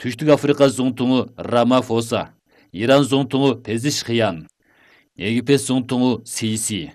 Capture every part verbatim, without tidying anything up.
Түштүк Африка зуңтуңу Рамафоса, Иран зуңтуңу Пезишхиян, Египет зуңтуңу Сиси,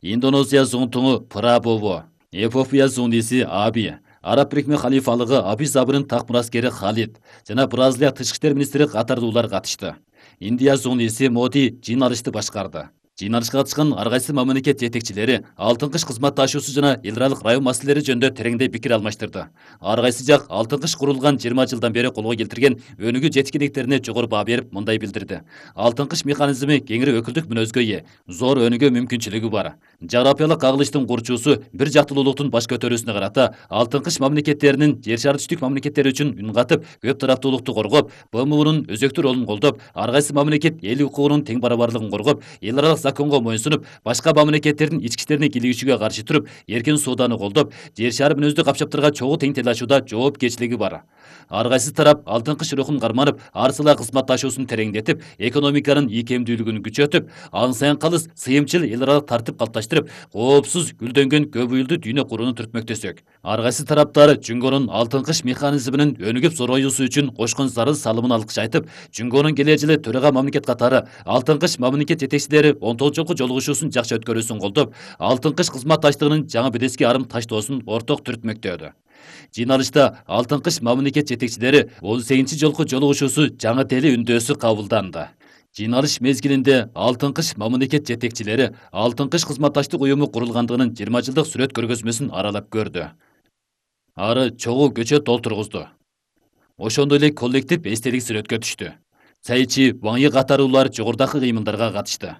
Индонезия зуңтуңу Прабово, Эфиопия зуңдиси Аби, Араб Бирикме халифалыгы Абис Забырын так мураскери Халид жана Бразилия тышкы иштер министри катардуулар катышты. Индия зуңдиси Моди жыйналышты башкарды. Жыйналышка катышкан ар кайсы мамлекет жетекчилери алтын кыш кызматташуусу жана эл аралык район маселелери жөнүндө тереңдей пикир алмаштырды. Ар кайсы жак алтын кыш курулган жыйырма жылдан бери колго келтирген өнүгүү жеткиликтерине жогору баа берип мындай билдирди. Алтын кыш механизми кеңири өкүлдүк мүнөзгө ээ, зор өнүгүү мүмкүнчүлүгү бар. Жаграпиялык кагылыштын курчуусу бир жактуулуктун баш көтөрүүсүнө карата алтын кыш мамлекеттеринин жер шары түштүк мамлекеттери үчүн үн катып, көп тараптуулукту коргоп, БМУнун өзөктүү ролун колдоп, ар кайсы мамлекет эл укугунун тең барабарлыгын коргоп, эл аралык законго моюнсунуп, башка мамлекеттердин ички иштерине кийлигишүүгө каршы туруп, эркин сооданы колдоп, жер шары мүнөздүү капчаптарга чогуу тең тилашууда жоопкерчилиги бар. Ар кайсы тарап алтын кыш рухун карманып, ар сала кызматташуусун тереңдетип, экономиканын ийкемдүүлүгүн күчөтүп, аң сайын калыс сыйымчыл эл аралык тартип калыпташтырып, коопсуз гүлдөнгөн көп уюлдуу дүйнө курууну түртмөктөсөк. Ар кайсы тараптар Жүнгөнүн алтын кыш механизминин өнүгүп зороюусу үчүн кошкон зарыл салымын алкыш айтып, Жүнгөнүн келээ жылы төрага мамлекет катары алтын кыш мамлекет жетекчилери он тогузунчу жолку жолугушуусун жакшы өткөрүүсүн колдоп, алтын кыш кызматташтыгынын жаңы бедески арым таштоосун орток түртмөктөдү. Жыйналышта алтын кыш мамлекет жетекчилери он сегизинчи жолку жолугушуусу жаңы тели үндөөсү кабылданды. Жыйналыш мезгилинде алтын кыш мамлекет жетекчилери алтын кыш кызматташтык уюму курулгандыгынын жыйырма жылдык сүрөт көргөзмөсүн аралап көрдү. Ары чогуу көчөт толтургузду. Ошондой эле коллектив эстелик сүрөткө түштү. Цайчи, Ваңйы катаруулар жогорудагы кыймылдарга катышты.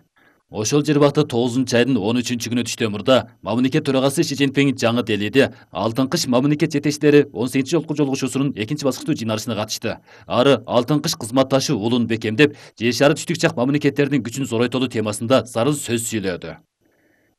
Ошол жербакта тогузунчу айдын он үчүнчү күнү түштөн мурда мамлекет төрагасы Си Цзиньпин жаңы Делиде алтын кыш мамлекет жетекчилери он сегизинчи жолку жолугушуусунун экинчи баскычтуу жыйналышына катышты. Ары алтын кыш кызматташуу улун бекемдеп, жер шары түштүк жак мамлекеттердин күчүн зоройтолуу темасында зарыл сөз сүйлөдү.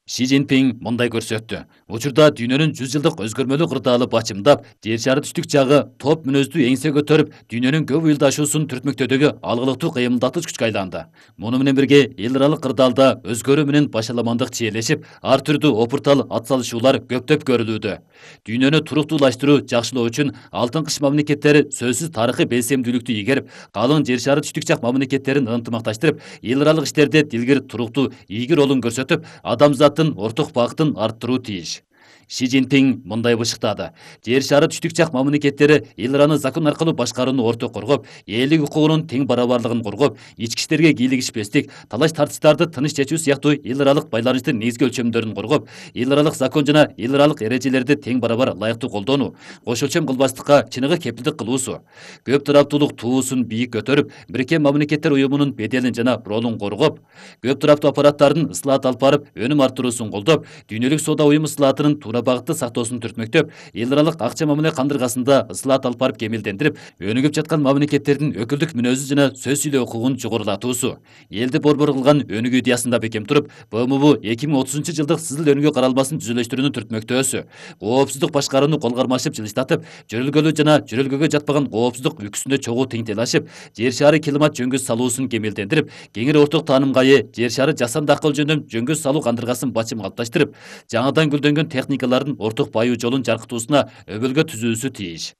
Си Цзиньпин мындай көрсөттү. Учурда дүйнөнүн жүз жылдык өзгөрмөлүү кырдаалы бачымдап, жер шары түштүк жагы топ мүнөздүү эңсе көтөрүп, дүйнөнүн көп уюлдашуусун түртмөктөдөгү алгылыктуу кыймылдатыч күчкө айланды. Муну менен бирге эл аралык кырдаалда өзгөрүү менен башаламандык чиелешип, ар түрдүү опуртал атсалышуулар көптөп көрүлүүдө. Дүйнөнү туруктуулаштыруу, жакшылоо үчүн алтын кыш мамлекеттери сөзсүз тарыхый белсемдүүлүктү ийгерип, калың жер шары түштүк жак мамлекеттерин ынтымакташтырып, эл аралык иштерде дилгир, туруктуу, ийгил ролун көрсөтүп, адамзат орток багытын арттыруу тийиш. Си Цзиньпин мындай бышыктады. Жер шары түштүк жак мамлекеттери эл араны закон аркылуу башкарууну орток коргоп, элдик укугунун тең барабарлыгын коргоп, ички иштерге кийлигишпестик, талаш тартыштарды тыныч чечүү сыяктуу эл аралык байланыштын негизги өлчөмдөрүн коргоп, эл аралык закон жана эл аралык эрежелерди тең барабар ылайыктуу колдонуу, кош өлчөм кылбастыкка чыныгы кепилдик кылуусу, көп тараптуулук туусун бийик көтөрүп, Бириккен Мамлекеттер Уюмунун беделин жана ролун коргоп, көп тараптуу аппараттардын ыслаат алып барып, өнүм арттыруусун колдоп, дүйнөлүк соода уюму ыслаатынын туура багытты сактоосун түртмөктөп, эл аралык акча мамиле кандыргасында ыслаат алып барып кемелдендирип, өнүгүп жаткан мамлекеттердин өкүлдүк мүнөзү жана сөз сүйлөө укугун жогорулатуусу, элди борбор кылган өнүгүү идеясында бекем туруп, БМУ эки миң отузунчу жылдык сызыл өнүгүү каралмасын түзүлүштүрүүнүн түртмөктөөсү, коопсуздук башкарууну кол кармашып жылыштатып, жөрөлгөлүү жана жөрөлгөгө жатпаган коопсуздук үлгүсүндө чогуу тең тилашып, жер шары климат жөнгөс салуусун кемелдендирип, кеңири орток таанымга ээ жер шары жасанды акыл жөнүндө жөнгөс салуу кандыргасын бачым калыпташтырып, жаңыдан гүлдөнгөн техникалардын орток баюу жолун жаркытуусуна өбөлгө түзүүсү тийиш.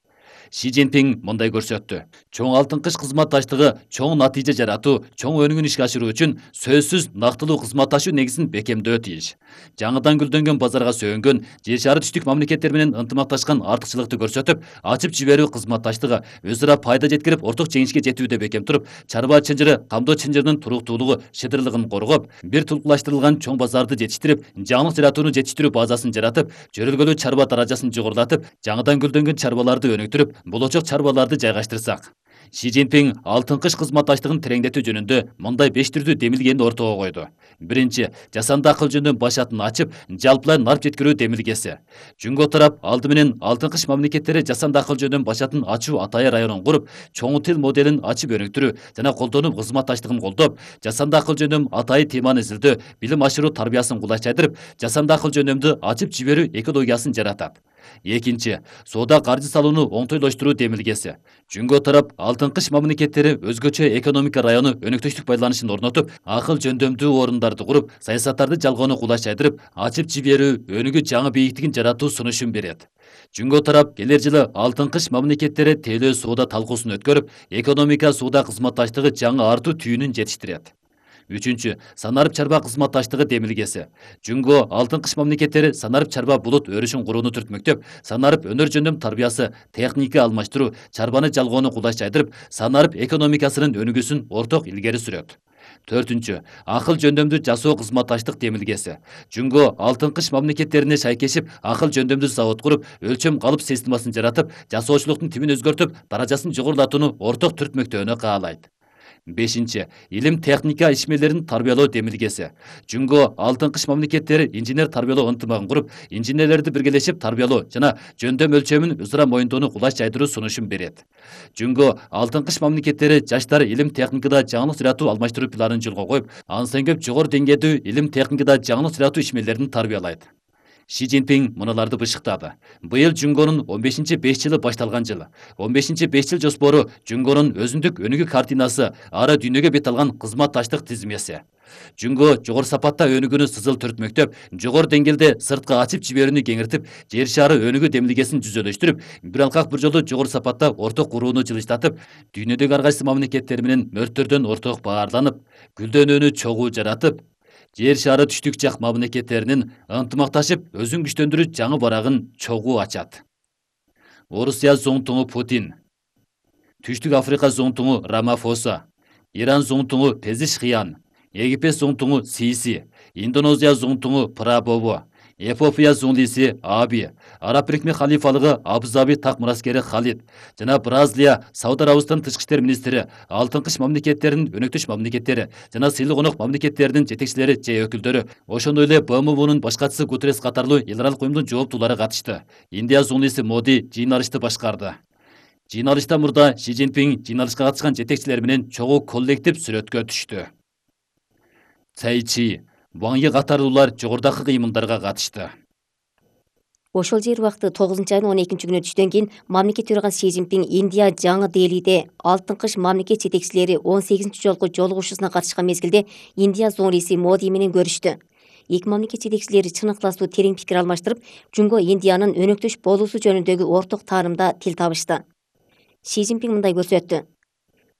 Си Цзиньпин мындай көрсөттү. Чоң алтын кыш кызматташтыгы чоң натыйжа жаратуу, чоң өнүгүүнү ишке ашыруу үчүн сөзсүз нактылуу кызматташуу негизин бекемдөө тийиш. Жаңыдан гүлдөнгөн базарга сөөнгөн, жер шары түштүк мамлекеттер менен ынтымакташкан артыкчылыкты көрсөтүп, ачып жиберүү кызматташтыгы өз ара пайда жеткирип, орток жеңишке жетүүдө бекем туруп, чарба чынжыры, камдоо чынжырынын туруктуулугу, шыдырлыгын коргоп, бир тулкулаштырылган чоң базарды жетиштирип, жаңылык жаратууну жетиштирүү базасын жаратып, жөрөлгөлүү чарба даражасын жогорулатып, жаңыдан гүлдөнгөн чарбаларды өнүктүрүп, болочок чарбаларды жайгаштырсак. Си Цзиньпин алтын кыш кызматташтыгын тереңдетүү жөнүндө мындай беш түрдүү демилгени ортого койду. Биринчи, жасанды акыл жөнүндө башатын ачып, жалпылай нарп жеткирүү демилгеси. Жүнгө тарап алды менен алтын кыш мамлекеттери жасанды акыл жөнүндө башатын ачуу Атайы районун куруп, чоң тил моделин ачып өнүктүрүү жана колдонуу кызматташтыгын колдоп, жасанды акыл жөнүндө Атайы теманы изилдөө, билим ашыруу тарбиясын кулайчайдырып, жасанды акыл жөнүндө ачып жиберүү экологиясын жаратат. Экинчи, соода каржы салууну оңтойлоштуруу демилгеси. Жөнгө тарап алтын кыш мамлекеттери өзгөчө экономика району өнөктөштүк байланышын орнотуп, акыл жөндөмдүү орундарды куруп, саясаттарды жалгоону кулайчайдырып, ачып жиберүү, өнүгүү жаңы бийиктигин жаратуу сунушун берет. Жөнгө тарап келер жылы алтын кыш мамлекеттери тейлөө соода талкуусун өткөрүп, экономика соода кызматташтыгы жаңы артуу түйүнүн жетиштирет. Үчүнчү, санарып чарба кызматташтыгы демилгеси. Жөнгө алтын кыш мамлекеттери санарып чарба булут өрүшүн курууну түртмөктөп, санарып өнөр жөндөм тарбиясы, техника алмаштыруу, чарбаны жалгоону кулайчайдырып, санарып экономикасынын өнүгүүсүн орток илгери сүрөт. Төртүнчү, акыл жөндөмдүү жасоо кызматташтык демилгеси. Жөнгө алтын кыш мамлекеттерине шайкешип, акыл жөндөмдүү завод куруп, өлчөм калып системасын жаратып, жасоочулуктун тибин өзгөртүп, даражасын жогорулатууну орток түртмөктөөнү каалайт. Бешинчи, илим техника ишмерлерин тарбиялоо демилгеси. Жөнгө алтын кыш мамлекеттери инженер тарбиялоо ынтымагын куруп, инженерлерди биргелешип тарбиялоо жана жөндөм өлчөмүн өз ара моюндоону кулайчайдыруу сунушун берет. Жөнгө алтын кыш мамлекеттери жаштар илим техникада жаңылык жаратуу алмаштыруу планын жолго коюп, андан көп жогору деңгээлдүү илим техникада жаңылык жаратуу ишмерлерин тарбиялайт. Ши Цзиньпин мыналарды бышыктады. Быйыл Жөнгөнүн он бешинчи беш жылы башталган жыл. он бешинчи беш жыл жоспору Жөнгөнүн өзүндүк өнүгүү картинасы, ары дүйнөгө бет алган кызматташтык тизмеси. Жөнгө жогору сапатта өнүгүүнү сызыл түртмөктөп, жогору деңгээлде сыртка ачып жиберүүнү кеңиртип, жер шары өнүгүү демилгесин жүзөлөштүрүп, бир алкак бир жолу жогору сапатта орток курууну жылыштатып, дүйнөдөгү ар кайсы мамлекеттер менен мөрттөрдөн орток баарланып, гүлдөнүүнү чогуу жаратып, жер шары түштүк жак мамлекеттеринин ынтымакташып өзүн күчтөндүрүү жаңы барагын чогуу ачат. Орусия зоңтуңу Путин, Түштүк Африка зоңтуңу Рамафоса, Иран зоңтуңу Пезишкиян, Египет зоңтуңу Сиси, Индонезия зоңтуңу Прабово, Эфиопия зоңлиси Аби, Араб Бирикме халифалыгы Абу-Заби так мураскери Халид жана Бразилия, Сауд Арабистан тышкы иштер министри, алтын кыш мамлекеттеринин өнөктөш мамлекеттери жана сыйлы конок мамлекеттеринин жетекчилери же өкүлдөрү, ошондой эле Б М Унун башкачысы Гутеррес катарлуу эл аралык уюмдун жооптуулары катышты. Индия зоңлиси Моди жыйналышты башкарды. Жыйналыштан мурда Ши Цзиньпин жыйналышка катышкан жетекчилер менен чогуу коллектив сүрөткө түштү. Цай Чи, Ван Йи катарлуулар жогорудагы кыймылдарга катышты. Ошол жер убакыты тогузунчу айдын он экинчи күнү түштөн кийин мамлекет төрагасы Ши Цзиньпин Индия жаңы Делиде алтын кыш мамлекет жетекчилери он сегизинчи жолку жолугушуусуна катышкан мезгилде Индия зоңлиси Моди менен көрүштү. Эки мамлекет жетекчилери чын ыктыластуу терең пикир алмаштырып, Жөнгө Индиянын өнөктөш болуусу жөнүндөгү орток таанымда тил табышты. Ши Цзиньпин мындай көрсөттү.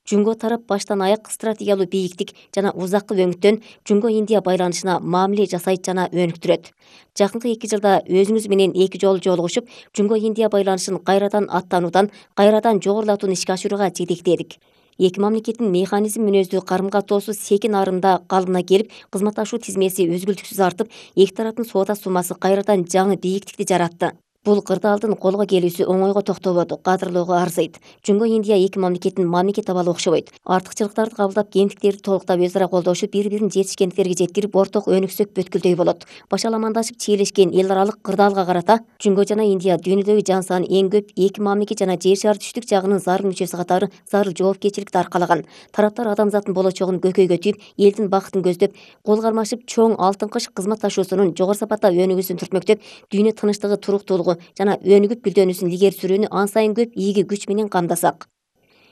Жөнгө тарап баштан аяк стратегиялуу бийиктик жана узаккы өңүттөн Жөнгө Индия байланышына мамиле жасайт жана өнүктүрөт. Жакынкы эки жылда өзүңүз менен эки жолу жолугушуп, Жөнгө Индия байланышын кайрадан аттануудан, кайрадан жогорулатууну ишке ашырууга жетектедик. Эки мамлекеттин механизм мүнөздүү карым каттоосу секин арымда калыбына келип, кызматташуу тизмеси үзгүлтүксүз артып, эки тараптын соода суммасы кайрадан жаңы бийиктикти жаратты. Бул кырдаалдын колго келүүсү оңойго токтободу, кадырлоого арзыйт. Жөнгө Индия эки мамлекеттин мамлекет абалы окшобойт. Артыкчылыктарды кабылдап, кемтиктерди толуктап өз ара колдошуп, бири-бирин жетишкендиктерге жеткирип, орток өнүксөк бүткүлдөй болот. Башаламандашып чийлешкен эл аралык кырдаалга карата Жөнгө жана Индия дүйнөдөгү жан саны эң көп эки мамлекет жана жер шары түштүк жагынын зарыл мүчөсү катары зарыл жоопкерчиликти аркалаган. Тараптар адамзаттын болочогун көкөйгө түйүп, элдин бакытын көздөп, кол кармашып, чоң алтын кыш кызматташуусунун жогору сапатта өнүгүүсүн түртмөктөп, дүйнө тынычтыгы, туруктуулугу жана өнүгүп гүлдөнүүсүн илгери сүрүүнү ан сайын көп ийги күч менен камдасак.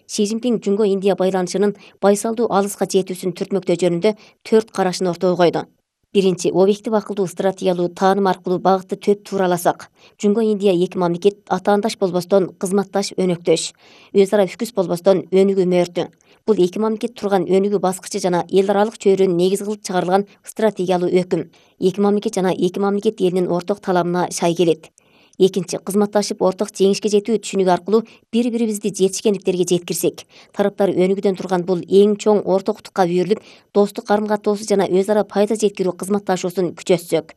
Ши Цзиньпин Жөнгө Индия байланышынын байсалдуу алыска жетүүсүн түртмөктөө жөнүндө төрт карашын ортого койду. Биринчи, объектив акылдуу стратегиялуу тааным аркылуу багытты төп туураласак. Жөнгө Индия эки мамлекет атаандаш болбостон кызматташ өнөктөш, өз ара үкүс болбостон өнүгүү мөөртү. Бул эки мамлекет турган өнүгүү баскычы жана эл аралык чөйрөнү негиз кылып чыгарылган стратегиялуу өкүм. Эки мамлекет жана эки мамлекет элинин орток талабына шай келет. Экинчи, кызматташып орток жеңишке жетүү түшүнүгү аркылуу бири-бирибизди жетишкендиктерге жеткирсек. Тараптар өнүгүүдөн турган бул эң чоң ортоктукка үйрүлүп, достук карым каттоосу жана өз ара пайда жеткирүү кызматташуусун күчөтсөк.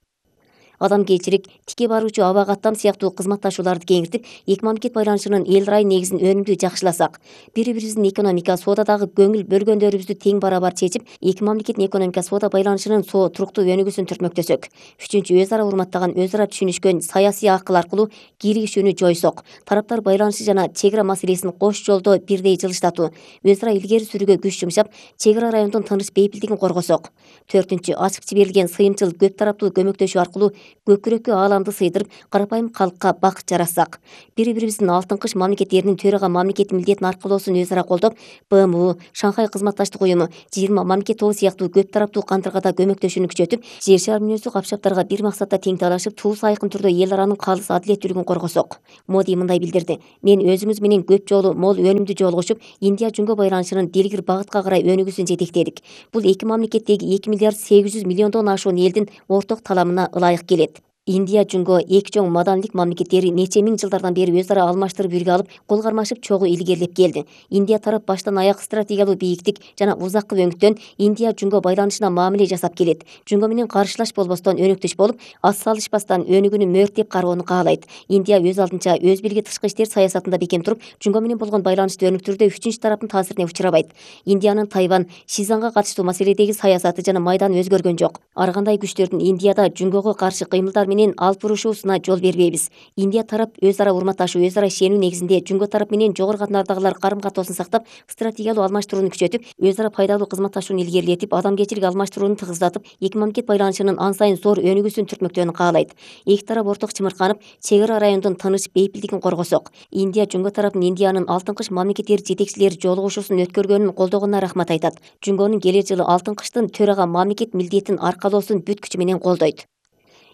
Адамгерчилик, тике баруучу аба каттам сыяктуу кызматташууларды кеңиртип, эки мамлекет байланышынын эл рай негизин өнүмдүү жакшыласак. Бири-бирибиздин экономика, соодадагы көңүл бөлгөндөрүбүздү тең барабар чечип, эки мамлекеттин экономика, соода байланышынын соо туруктуу өнүгүүсүн түртмөктөсөк. Үчүнчү, өз ара урматтаган, өз ара түшүнүшкөн саясий акыл аркылуу киригишүүнү жойсок. Тараптар байланышы жана чек ара маселесин кош жолдо бирдей жылыштатуу, өз ара илгери сүрүүгө күч жумшап, чек ара райондун тыныч бейпилдигин коргосок. Төртүнчү, ачык жиберилген сыйымчыл көп тараптуу көмөктөшүү аркылуу көкүрөккө ааламды сыйдырып, карапайым калкка бак жаратсак, бири бирибиздин алтын кыш мамлекеттеринин төрага мамлекет милдетин аркылоосун өз ара колдоп, Б М У, Шанхай кызматташтык уюму, жыйырма мамлекет тобу сыяктуу көп тараптуу кандыргада көмөктөшүүнү күчөтүп, жер шаар мүнөздүү капшаптарга бир максатта тең талашып, туус айкын түрдө эл аранын калыс адилеттүүлүгүн коргосок. Моди мындай билдирди: мен өзүңүз менен көп жолу мол өнүмдүү жолугушуп, Индия Жунго байланышынын дилгир багытка карай өнүгүүсүн жетектедик. Бул эки мамлекеттеги эки миллиард сегиз жүз миллиондон ашуун элдин орток таламына ылайык келет. Индия Жунго эки чоң маданилик мамлекеттери нече миң жылдардан бери өз ара алмаштырып үлгү алып, кол кармашып чогуу илгерилеп келди. Индия тарап баштан аяк стратегиялуу бийиктик жана узаккы өңүттөн Индия Жунго байланышына мамиле жасап келет. Жунго менен каршылаш болбостон өнөктөш болуп, ас салышпастан өнүгүүнү мөрттеп кароону каалайт. Индия өз алдынча өз бийлиги тышкы иштер саясатында бекем туруп, Жунго менен болгон байланышты өнүктүрүүдө үчүнчү тараптын таасирине учурабайт. Индиянын Тайвань, Шизанга катыштуу маселедеги саясаты жана майданы өзгөргөн жок. Ар кандай күчтөрдүн Индияда Жунгого каршы кыймылдар менен алып бурушуусуна жол бербейбиз. Индия тарап өз ара урматташуу, өз ара ишенүү негизинде Жунго тарап менен жогору катнардагылар карым катоосын сактап, стратегиялуу алмаштырууну күчөтүп, өз ара пайдалуу кызматташууну илгерилетип, адамгерчилик алмаштырууну тыгыздатып, эки мамлекет байланышынын ан сайын зор өнүгүүсүн түртмөктөөнү каалайт. Эки тарап орток чымырканып, чек ара райондун тыныч, бейпилдигин коргосок. Индия Жунго тарапын Индиянын алтын кыш мамлекеттери жетекчилери жолугушуусун өткөргөнүн колдогонуна рахмат айтат. Жунгонун келер жылы алтын кыштын төрага мамлекет милдетин аркалоосун бүт күчү менен колдойт.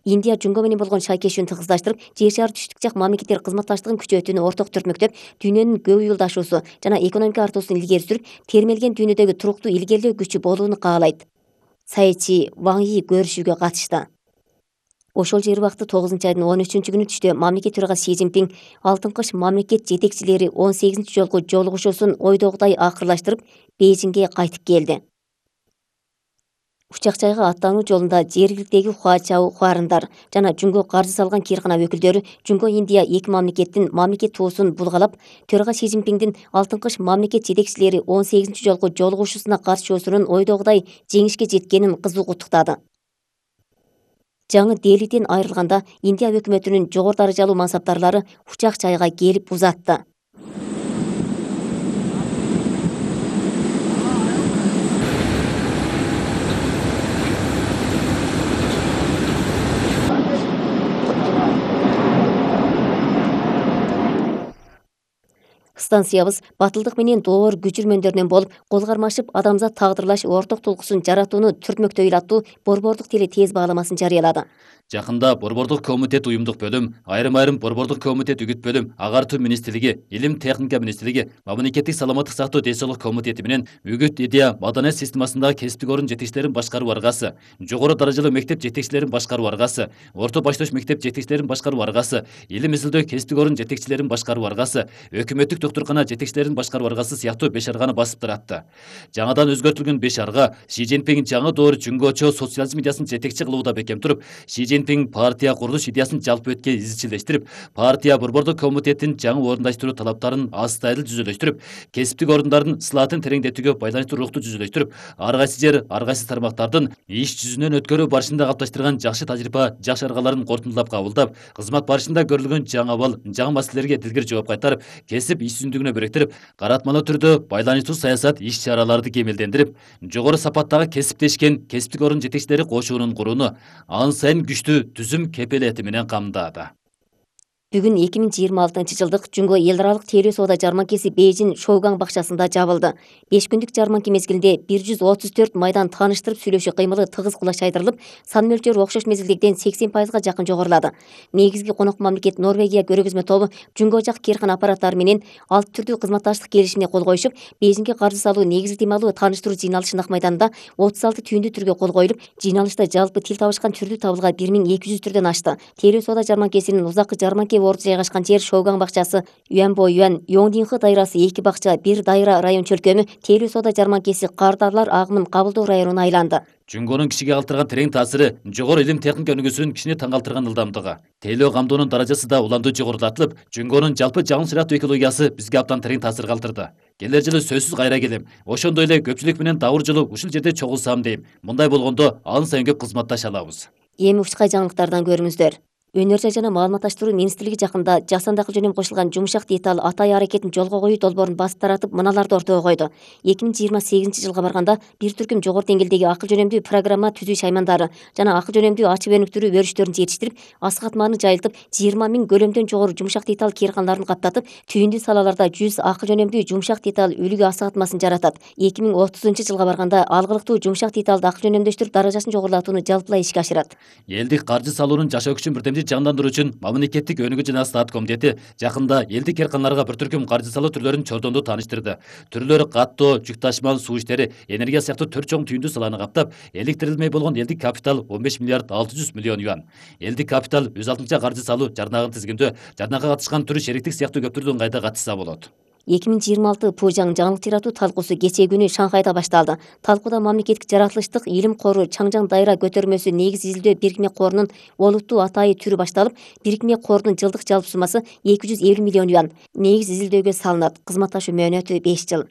Индия Жунго менен болгон шайкешүүнү тыгыздаштырып, жер шаар түштүк жак мамлекеттер кызматташтыгын күчөтүүнү орток түртмөктөп, дүйнөнүн көп уюлдашуусу жана экономика артуусун илгери сүрүп, термелген дүйнөдөгү туруктуу илгерлөө күчү болууну каалайт. Сайчи Ван Йи көрүшүүгө катышты. Ошол жер убакыты тогузунчу айдын он үчүнчү күнү түштө мамлекет төрагасы Си Цзиньпин алтын кыш мамлекет жетекчилери он сегизинчи жолку жолугушуусун ойдогудай акырлаштырып, Бейжиңге кайтып келди. Учак жайга аттануу жолунда жергиликтеги Хуачау хуарындар жана Жунго каржы салган киркана өкүлдөрү Жунго Индия эки мамлекеттин мамлекет туусун булгалап, төрага Си Цзиньпиндин алтын кыш мамлекет жетекчилери он сегизинчи жолку жолугушуусуна катышуусунун ойдогудай жеңишке жеткенин кызуу куттуктады. Жаңы Делиден айрылганда Индия өкмөтүнүн жогору даражалуу мансаптарлары учак жайга келип узатты. Станциябыз батылдык менен доор күчүрмөндөрүнөн болуп, кол кармашып адамзат тагдырлаш орток тулкуусун жаратууну түртмөктөй аттуу борбордук теле тез бааламасын жарыялады. Жакында Борбордук комитет уюмдук бөлүм, айрым-айрым Борбордук комитет үгүт бөлүм, Агартуу министрлиги, Илим техника министрлиги, Мамлекеттик саламаттык сактоо денсаулык комитети менен үгүт идея маданият системасындагы кесиптик орун жетекчилерин башкаруу аргасы, жогору даражалуу мектеп жетекчилерин башкаруу аргасы, орто баштош мектеп жетекчилерин башкаруу аргасы, илим изилдөө кесиптик орун жетекчилерин башкаруу аргасы, өкмөттүк доктуркана жетекчилерин башкаруу аргасы сыяктуу беш арганы басып таратты. Жаңадан өзгөртүлгөн беш арга Си Цзиньпин жаңы доор жунгочо социализм идеясын жетекчи кылууда бекем туруп, Си Цзиньпин партия курулуш идеясын жалпы өткө изчилдештирип, партия Борбордук комитеттин жаңы орундаштыруу талаптарын астайыл жүзөлөштүрүп, кесиптик орундардын сылаатын тереңдетүүгө байланыштуу рухту жүзөлөштүрүп, ар кайсы жер, ар кайсы тармактардын иш жүзүнөн өткөрүү барышында калыпташтырган жакшы тажрыйба, жакшы аргаларын кортундулап кабылдап, кызмат барышында көрүлгөн жаңы абал, жаңы маселелерге дилгир жооп кайтарып, кесип иш жүзүндүгүнө бириктирип, каратмалуу түрдө байланыштуу саясат иш чараларды кемелдендирип, жогору сапаттагы кесиптешкен кесиптик орун жетекчилери кошуунун курууну ан сайын күчтүү түзүм кепелети менен камдады. Бүгүн эки миң жыйырма алтынчы жылдык Жунго эл аралык тейлөө соода жарманкеси Бейжиң Шоугаң бакчасында жабылды. беш күндүк жарманке мезгилинде бир жүз отуз төрт майдан тааныштырып сүйлөшүү кыймылы тыгыз кулаш айдырылып, сан мөлчөрү окшош мезгилдегиден сексен пайызга жакын жогорулады. Негизги конок мамлекет Норвегия көргөзмө тобу Жунго жак киркана аппараттары менен алты түрдүү кызматташтык келишимине кол коюшуп, Бейжиңге каржы салуу негизги темалуу тааныштыруу жыйналышы Нак майданында отуз алты түйүндүү түргө кол коюлуп, жыйналышта жалпы тил табышкан түрдүү табылга бир миң эки жүз түрдөн ашты. Тейлөө соода жарманкесинин узаккы жарманке орду жайгашкан жер Шоугаң бакчасы, Юанбо Юан, Йоңдинхы дайрасы эки бакча, бир дайра район чөлкөмү, тейлөө соода жарманкеси кардарлар агымын кабылдоо районуна айланды. Жунгонун кишиге калтырган терең таасири, жогору илим техника өнүгүүсүнүн кишини таң калтырган ылдамдыгы, тейлөө камдоонун даражасы да уламдуу жогорулатылып, Жунгонун жалпы жаңы шариаттуу экологиясы бизге абдан терең таасир калтырды. Келер жылы сөзсүз кайра келем. Ошондой эле көпчүлүк менен дабыр жолу ушул жерде чогулсам дейм. Мындай болгондо ан сайын көп кызматташа алабыз. Эми учкай жаңылыктардан көрүңүздөр. Өнөр жай жана маалыматташтыруу министрлиги жакында жасанды акыл жөнүнөн кошулган жумшак деталь атай аракетин жолго коюу долбоорун басып таратып, мыналарды ортого койду. эки миң жыйырма сегизинчи жылга барганда бир түркүм жогору деңгээлдеги акыл жөнөмдүү программа түзүү шаймандары жана акыл жөнөмдүү ачып өнүктүрүү өрүштөрүн жетиштирип, асык мааны жайылтып, жыйырма миң көлөмдөн жогору жумшак деталь кээрканаларын каптатып, түйүндүү салаларда жүз акыл жөнөмдүү жумшак деталь үлгү асыгатмасын жаратат. эки миң отузунчу жылга барганда алгылыктуу жумшак деталды акыл жөнөмдөштүрүп, даражасын жогорулатууну жалпылай ишке ашырат. Элдик каржы салуунун жашоо күчүн бирдемдүү жандандыруу үчүн мамлекеттик өнүгүү жана стат комитети жакында элдик кээрканаларга бир түркүм каржы салуу түрлөрүн чордонду тааныштырды. Түрлөрү каттоо, жүк ташымал, суу иштери, энергия сыяктуу төрт чоң түйүндүү саланы каптап, эликтирилмей болгон элдик капитал он беш миллиард алты жүз миллион юан. Элдик капитал өз алдынча каржы салуу жарнагын тизгиндөө, жарнага катышкан түрү шериктик сыяктуу көптөрдөн кайда катышса болот. эки миң жыйырма алты Пужаң жаңылык жаратуу талкуусу кечээ күнү Шанхайда башталды. Талкууда мамлекеттик жаратылыштык илим кору Чаңжаң дайра көтөрмөсү негиз изилдөө бирикме корунун олуттуу атайы түрү башталып, бирикме корунун жылдык жалпы суммасы эки жүз элүү миллион юан. Негиз изилдөөгө салынат. Кызматташуу мөөнөтү беш жыл.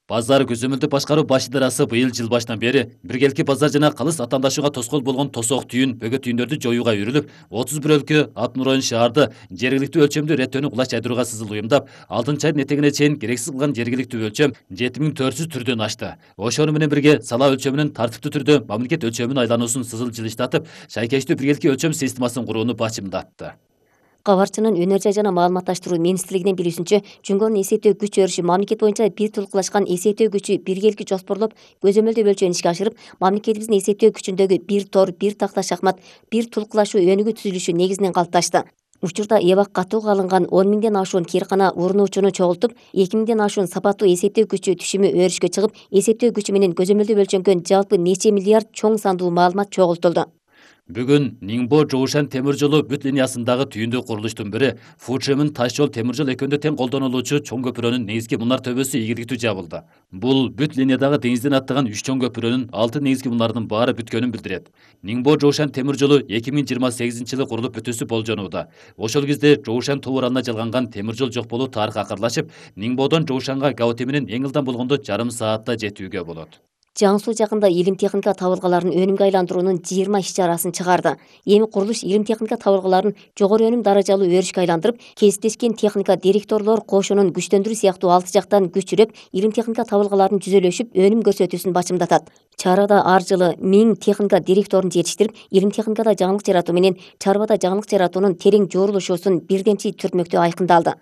Базар көзөмөлдү башкаруу баш идарасы быйыл жыл башынан бери биргелки базар жана калыс атаандашууга тоскоол болгон тосок түйүн, бөгөт түйүндөрдү жоюуга үрүлүп, отуз бир өлкө Атмуройн шаарды жергиликтүү өлчөмдү реттөөнү кулаш жайдырууга сызыл уюмдап, алтынчы айдын этегине чейин керексиз кылган жергиликтүү өлчөм жети миң төрт жүз түрдөн ашты. Ошону менен бирге сала өлчөмүнүн тартиптүү түрдө мамлекет өлчөмүнө айлануусун сызыл жылыштатып, шайкечтүү биргелки өлчөм системасын курууну бачымдатты. Кабарчынын өнөр жай жана маалыматташтыруу министрлигинин билүүсүнчө, Жөнгөнүн эсептөө күч өрүшү мамлекет боюнча бир тулкулашкан эсептөө күчү биргелки жоспорлоп, көзөмөлдөө бөлчөөнү ишке ашырып, мамлекетибиздин эсептөө күчүндөгү бир тор, бир такта шахмат, бир тулкулашуу өнүгүү түзүлүшү негизинен калыпташты. Учурда эбак катууга алынган он миңден ашуун кээркана урунуучуну чогултуп, эки миңден ашуун сапаттуу эсептөө күчү түшүмү өрүшкө чыгып, эсептөө күчү менен көзөмөлдөө бөлчөнгөн жалпы нече миллиард чоң сандуу маалымат чогултулду. Бүгүн Ниңбо Жоушан темир жолу бүт линиясындагы түйүндүү курулуштун бири Фучжэмин таш жол темир жол экөөндө тең колдонулуучу чоң көпүрөнүн негизги мунар төбөсү ийгиликтүү жабылды. Бул бүт линиядагы деңизден аттаган үч чоң көпүрөнүн алты негизги мунарынын баары бүткөнүн билдирет. Ниңбо Жоушан темир жолу эки миң жыйырма сегизинчи жылы курулуп бүтүүсү болжонууда. Ошол кезде Жоушан тоо аралына жалганган темир жол жок болуу тарыхка акырлашып, Ниңбодон Жоушанга Гаоте менен эң ылдам болгондо жарым саатта жетүүгө болот. Жаңсуу жакында илим техника табылгаларын өнүмгө айландыруунун жыйырма иш чарасын чыгарды. Эми курулуш илим техника табылгаларын жогору өнүм даражалуу өрүшкө айландырып, кесиптешкен техника директорлор кошунун күчтөндүрүү сыяктуу алты жактан күч жүрөп, илим техника табылгаларын жүзөлөшүп, өнүм көрсөтүүсүн бачымдатат. Чарада ар жылы миң техника директорун жетиштирип, илим техникада жаңылык жаратуу менен чарбада жаңылык жаратуунун терең жоорулушуусун бирдемчи түртмөктө айкындалды.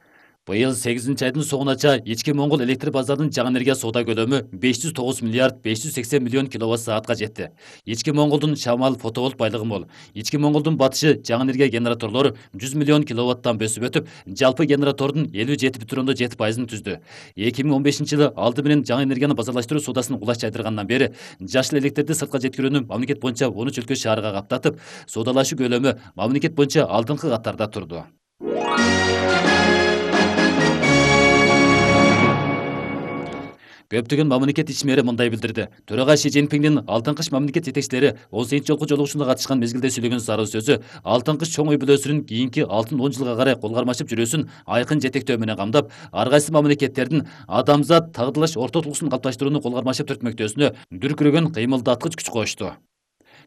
Быйыл сегизинчи айдын соңунача ички Моңгол электр базарынын жаңы энергия соода көлөмү беш жүз тогуз миллиард беш жүз сексен миллион киловатт саатка жетти. Ички Моңголдун шамал фотоволт байлыгы мол. Ички Моңголдун батышы жаңы энергия генераторлору жүз миллион киловаттан бөсүп өтүп, жалпы генератордун элүү жети бүтүн ондон жети пайызын түздү. эки миң он бешинчи жылы алды менен жаңы энергияны базарлаштыруу соодасын кулаш жайдыргандан бери жашыл электрди сыртка жеткирүүнү мамлекет боюнча он үч өлкө шаарга каптатып, соодалашуу көлөмү мамлекет боюнча алдыңкы катарда турду. Көптөгөн мамлекет ишмери мындай билдирди. Төрага Ши Цзиньпиндин Алтын кыш мамлекет жетекчилери он сегизинчи жолку жолугушууна катышкан мезгилде сүйлөгөн сарыл сөзү Алтын кыш чоң ой бүлөсүнүн кийинки алтын он жылга карай кол кармашып жүрүүсүн айкын жетектөө менен камдап, ар кайсы мамлекеттердин адамзат тагдырлаш орто тулкуусун калыпташтырууну кол кармашып түртмөктөөсүнө дүркүрөгөн кыймылдаткыч күч коюшту.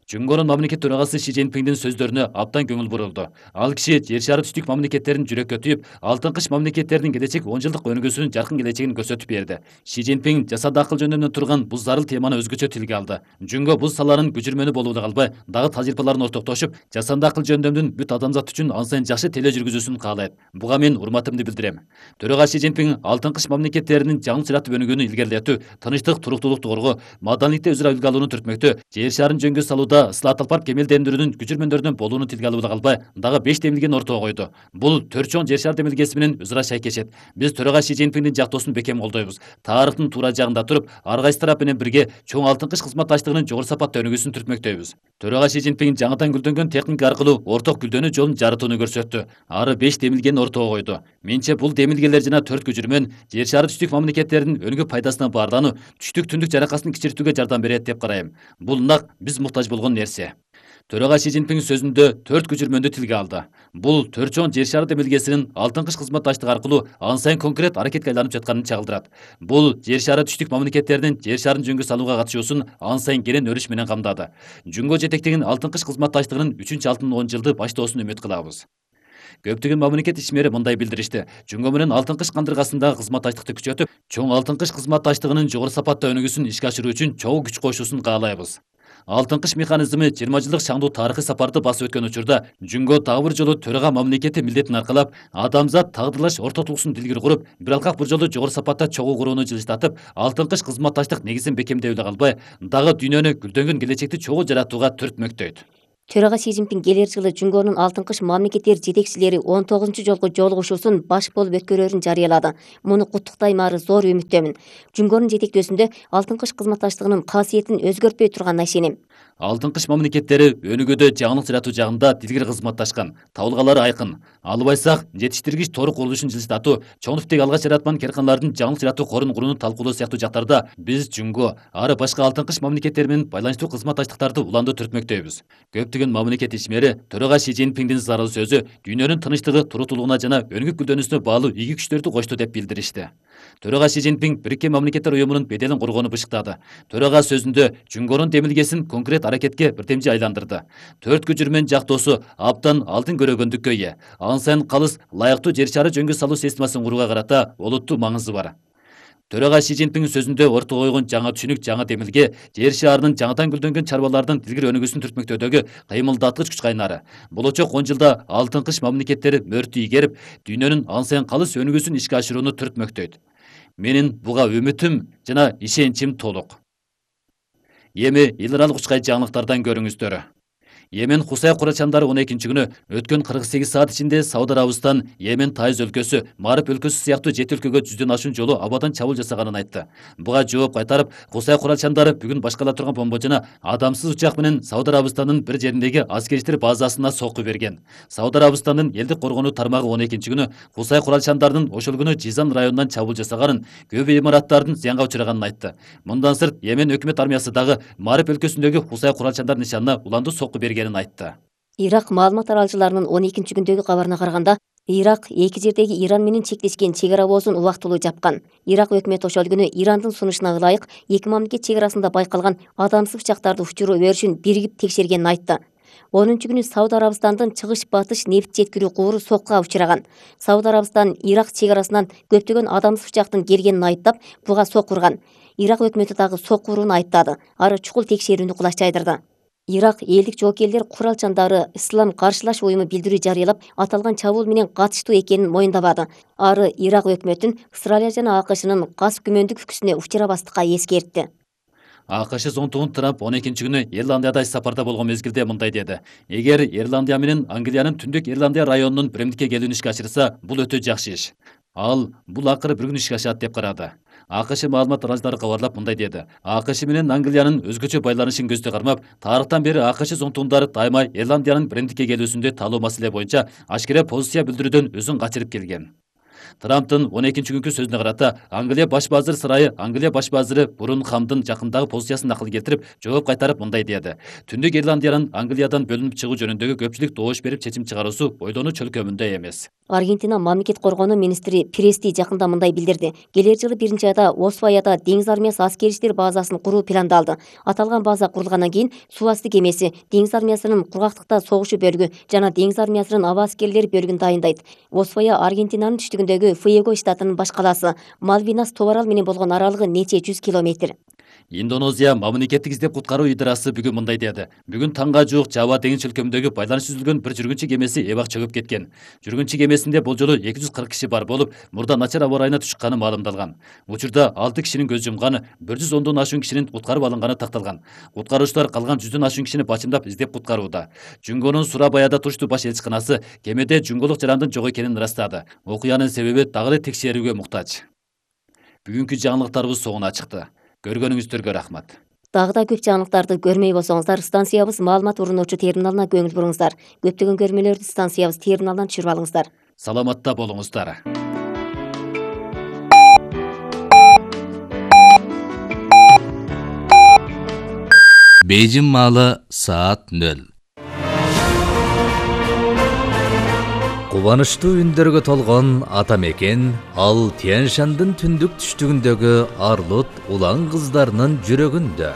Жөнгөнүн мамлекет төрагасы Ши Цзиньпиндин сөздөрүнө абдан көңүл бурулду. Ал киши жер шары түштүк мамлекеттерин жүрөккө түйүп, Алтын кыш мамлекеттеринин келечек он жылдык өнүгүүсүнүн жаркын келечегин көрсөтүп берди. Ши Цзиньпин жасанды акыл жөнүнөн турган бул зарыл теманы өзгөчө тилге алды. Жөнгө бул саланын күчүрмөнү болууда калбай, дагы тажрыйбаларын ортоктошуп, жасанды акыл жөндөмдүн бүт адамзат үчүн ан сайын жакшы теле жүргүзүүсүн каалайт. Буга мен урматымды билдирем. Төрага Ши Цзиньпин Алтын кыш мамлекеттеринин жаңы жаратып өнүгүүнү илгерилетүү, тынычтык, туруктуулукту коргоо, маданиятте өзара үлгү алууну түртмөктө, жер шарын жөнгө салууда ысылат алып барып кемелдендирүүнүн күчүрмөндөрүнөн болууну тилге алууда калбай, дагы беш демилгени ортого койду. Бул төрт чоң жер шар демилгеси менен өзара шайкешет. Биз төрага Ши Цзиньпиндин жактоосун бекем колдойбуз. Тарыхтын туура жагында туруп, ар кайсы тарап менен бирге чоң Алтын кыш кызматташтыгынын жогору сапаттуу өнүгүүсүн түртмөктөйбүз. Төрага Ши Цзиньпин жаңыдан гүлдөнгөн техника аркылуу орток гүлдөнүү жолун жарытууну көрсөттү. Ары беш демилгени ортого койду. Менче бул демилгелер жана төрт күчүрмөн жер шары түштүк мамлекеттеринин өнүгүү пайдасына баарлануу, түштүк түндүк жаракасын кичиртүүгө жардам берет деп карайм. Бул нак биз муктаж болгон нерсе. Төрага Си Цзиньпин сөзүндө төрт көчүрмөндү тилге алды. Бул төрт чоң жер шары демилгесинин алтын кыш кызматташтыгы аркылуу ан сайын конкрет аракетке айланып жатканын чагылдырат. Бул жер шары түштүк мамлекеттердин жер шарын жөнгө салууга катышуусун ан сайын кенен өрүш менен камдады. Жөнгө жетектеген алтын кыш кызматташтыгынын үчүнчү алтын он жылды баштоосун үмүт кылабыз. Көптөгөн мамлекет ишмери мындай билдиришти. Жөнгө менен алтын кыш кандыргасындагы кызматташтыкты күчөтүп, чоң алтын кыш кызматташтыгынын жогору сапатта өнүгүүсүн ишке ашыруу үчүн чогуу күч коюшуусун каалайбыз. Алтын кыш механизми жыйырма жылдык шаңдуу тарыхый сапарды басып өткөн учурда Жөнгө дагы бир жолу төрага мамлекети милдетин аркалап, адамзат тагдырлаш ортотулуксун дилгир куруп, бир алкак бир жолу жогору сапатта чогуу курууну жылыштатып, алтын кыш кызматташтык негизин бекемдей эле калбай, дагы дүйнөнү гүлдөнгөн келечекти чогуу жаратууга түртмөктөйт. Төрага Си Цзиньпин келер жылы Жөнгөнүн алтын кыш мамлекеттер жетекчилери он тогузунчу жолку жолугушуусун баш болуп өткөрөрүн жарыялады. Муну куттуктайм, ары зор үмүттөмүн. Жөнгөнүн жетектөөсүндө алтын кыш кызматташтыгынын касиетин өзгөртпөй турганына ишенем. Алтын кыш мамлекеттери өнүгүүдө жаңылык жаратуу жагында дилгир кызматташкан. Табылгалары айкын. Албайсак, жетиштиргич тору курулушун жылыштатуу, чоң типтеги алгач жараткан карканалардын жаңылык жаратуу корун курууну талкуулоо сыяктуу жактарда биз Жөнгө, ары башка алтын кыш мамлекеттери менен байланыштуу кызматташтыктарды уланды түртмөктөйбүз. Көптөгөн мамлекет ишмери төрага Си Цзиньпиндин зарыл сөзү дүйнөнүн тынычтыгы, турутулугуна жана өнүгүп гүлдөнүүсүнө баалуу ийги күчтөрдү кошту деп билдиришти. Төрага Си Цзиньпин Бириккен Мамлекеттер уюмунун беделин коргоону бышыктады. Төрага сөзүндө Жөнгөнүн демилгесин конкрет аракетке бирдемчи айландырды. Төрт көчүрмөн жактоосу абдан алдын көрөгөндүккө ээ. Ан сайын калыс лайыктуу жер шары жөнгө салуу системасын курууга карата олуттуу маңызы бар. Төрага Си Цзиньпин сөзүндө ортого койгон жаңа түшүнүк, жаңа демилге жер шарынын жаңадан гүлдөнгөн чарбалардын дилгир өнүгүүсүн түртмөктөөдөгү кыймылдаткыч күч кайнары. Болочок он жылда алтын кыш мамлекеттери мөртү ийгерип, дүйнөнүн ан сайын калыс өнүгүүсүн ишке ашырууну түртмөктөйт. Менин буга үмүтүм жана ишеничим толук. Эми эл аралык учкай жаңылыктардан көрүңүздөр. Йемен Хусай курачандары он экинчи күнү өткөн кырк сегиз саат ичинде Сауд Арабистан, Йемен Тайыз өлкөсү, Мариб өлкөсү сыяктуу жети өлкөгө жүздөн ашуун жолу абадан чабуул жасаганын айтты. Буга жооп кайтарып, Хусай курачандары бүгүн башкала турган бомба жана адамсыз учак менен Сауд Арабистанын бир жериндеги аскерчилер базасына сокку берген. Сауд Арабистанын элдик коргонуу тармагы он экинчи күнү Хусай курачандарынын ошол күнү Жизан районунан чабуул жасаганын, көп имараттардын зыянга учураганын айтты. Мындан сырт Йемен өкмөт армиясы дагы Мариб өлкөсүндөгү Хусай курачандар нишанына уланды сокку берген айтты. Ирак маалымат аралчыларынын он экинчи күндөгү кабарына караганда, Ирак эки жердеги Иран менен чектешкен чек ара боозун убактылуу жапкан. Ирак өкмөтү ошол күнү Ирандын сунушуна ылайык эки мамлекет чек арасында байкалган адамсыз учактарды учуруу өрүшүн биригип текшергенин айтты. онунчу күнү Сауд Арабистандан чыгыш-батыш нефт жеткирүү кубуру соккуга учураган. Сауд Арабистан Ирак чек арасынан көптөгөн адамсыз учактын келгенин айыптап, буга сокку урган. Ирак өкмөтү дагы сокку урууну айыптады. Ары чукул текшерүүнү кулаш жайдырды. Ирак элдик жоокерлер куралчандары Ислам каршылаш уюму билдирүү жарыялап, аталган чабуул менен катыштуу экенин моюндабады. Ары Ирак өкмөтүн Австралия жана АКШнын кас күмөндүк күкүсүнө учурабастыкка эскертти. АКШ зонтугун Трамп он экинчи күнү Ирландияда иш сапарда болгон мезгилде мындай деди. Эгер Ирландия менен Англиянын түндүк Ирландия районунун биримдикке келүүнү ишке ашырса, бул өтө жакшы иш. Ал бул акыры бир күн ишке ашат деп карады. АКШ маалымат аралчылары кабарлап мындай деди. АКШ менен Англиянын өзгөчө байланышын көздө кармап, тарыхтан бери АКШ зонтугундары дайыма Ирландиянын биримдикке келүүсүндө талоо маселе боюнча ашкере позиция билдирүүдөн өзүн качырып келген. Трамптын он экинчи күнкү сөзүнө карата Англия баш базыры сырайы Англия баш базыры Бурун Хамдын жакындагы позициясын акыл келтирип, жооп кайтарып мындай деди. Түндүк Ирландиянын Англиядан бөлүнүп чыгуу жөнүндөгү көпчүлүк добуш берип чечим чыгаруусу ойлонуу чөлкөмүндө эмес. Аргентина мамлекет коргоонуу министри Прести жакында мындай билдирди. Келер жылы биринчи айда Освояда деңиз армиясы аскерчилер базасын куруу пландалды. Аталган база курулгандан кийин суу асты кемеси, деңиз армиясынын кургактыкта согушу бөлүгү жана деңиз армиясынын аба аскерлери бөлүгүн дайындайт. Освоя Аргентинанын түштүгүндөгү Фуэго штатынын баш калаасы. Малвинас тоо арал менен болгон аралыгы нече жүз километр. Индонезия мамлекеттик издеп куткаруу идырасы бүгүн мындай деди. Бүгүн таңга жуук Жава деңиз чөлкөмүндөгү байланыш үзүлгөн бир жүргүнчү кемеси эбак чөгүп кеткен. Жүргүнчү кемесинде бул жолу эки жүз кырк киши бар болуп, мурда начар аба ырайына түшкөнү маалымдалган. Учурда алты кишинин көз жумганы, бир жүз ондон ашуун кишинин куткарып алынганы такталган. Куткаруучулар калган жүздөн ашуун кишини бачымдап издеп куткарууда. Жөнгөнүн Сурабаяда туруштуу баш элчиканасы кемеде жүнгөлүк жарандын жок экенин ырастады. Окуянын себеби дагы эле текшерүүгө муктаж. Бүгүнкү жаңылыктарыбыз соңуна чыкты. Көргөнүңүздөргө рахмат. Дагы да көп жаңылыктарды көрмөй болсоңуздар, станциябыз маалымат урунуучу терминалына көңүл буруңуздар. Көптөгөн көрмөлөрдү станциябыз терминалынан түшүрүп алыңыздар. Саламатта болуңуздар. Бейжин маалы саат нөл. Кубанычтуу үндөргө толгон ата мекен ал Тянь-Шандын түндүк түштүгүндөгү Арлут улан кыздарынын жүрөгүндө.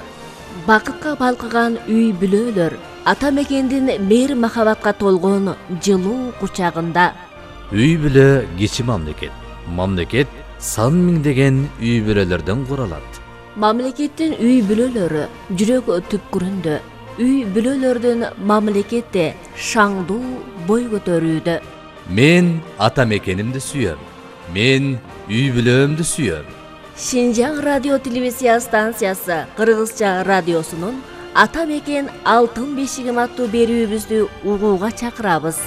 Бакытка балкыган үй бүлөлөр ата мекендин мээр махабатка толгон жылуу кучагында. Үй бүлө кичи мамлекет. Мамлекет сан миңдеген үй бүлөлөрдөн куралат. Мамлекеттин үй бүлөлөрү жүрөк түпкүрүндө. Үй бүлөлөрдүн мамлекетте шаңдуу бой көтөрүүдө. Мен ата мекенимди сүйөм. Мен үй бүлөмдү сүйөм. Шинжаң радио телевизия станциясы Кыргызча радиосунун Ата мекен алтын бешигим аттуу берүүбүздү угууга чакырабыз.